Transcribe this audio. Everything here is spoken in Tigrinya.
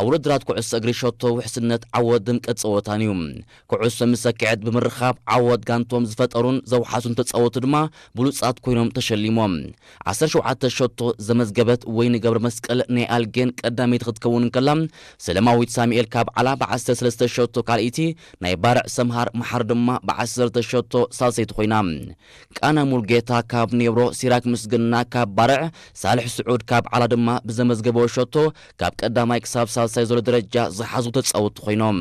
ኣብ ውድድራት ኩዕሶ እግሪ ሸቶ ውሕስነት ዓወት ድምቀት ጸወታን እዩ። ኩዕሶ ምስ ሰክዐት ብምርኻብ ዓወት ጋንቶም ዝፈጠሩን ዘውሓሱን ተጻወቱ ድማ ብሉጻት ኮይኖም ተሸሊሞም። ዓሰርተ ሸውዓተ ሸቶ ዘመዝገበት ወይኒ ገብረ መስቀል ናይ ኣልጌን ቀዳመይቲ ክትከውን እንከላ፣ ሰለማዊት ሳሙኤል ካብ ዓላ ብ ዓሰርተ ሰለስተ ሸቶ ካልኣይቲ፣ ናይ ባርዕ ሰምሃር መሓር ድማ ብ ዓሰርተ ሸቶ ሳልሰይቲ ኮይና። ቃና ሙልጌታ ካብ ኔብሮ፣ ሲራክ ምስግና ካብ ባርዕ፣ ሳልሕ ስዑድ ካብ ዓላ ድማ ብዘመዝገበ ሸቶ ካብ ቀዳማይ ክሳብ ሳልሳይ ዘሎ ደረጃ ዝሓዙ ተጻወቱ ኮይኖም።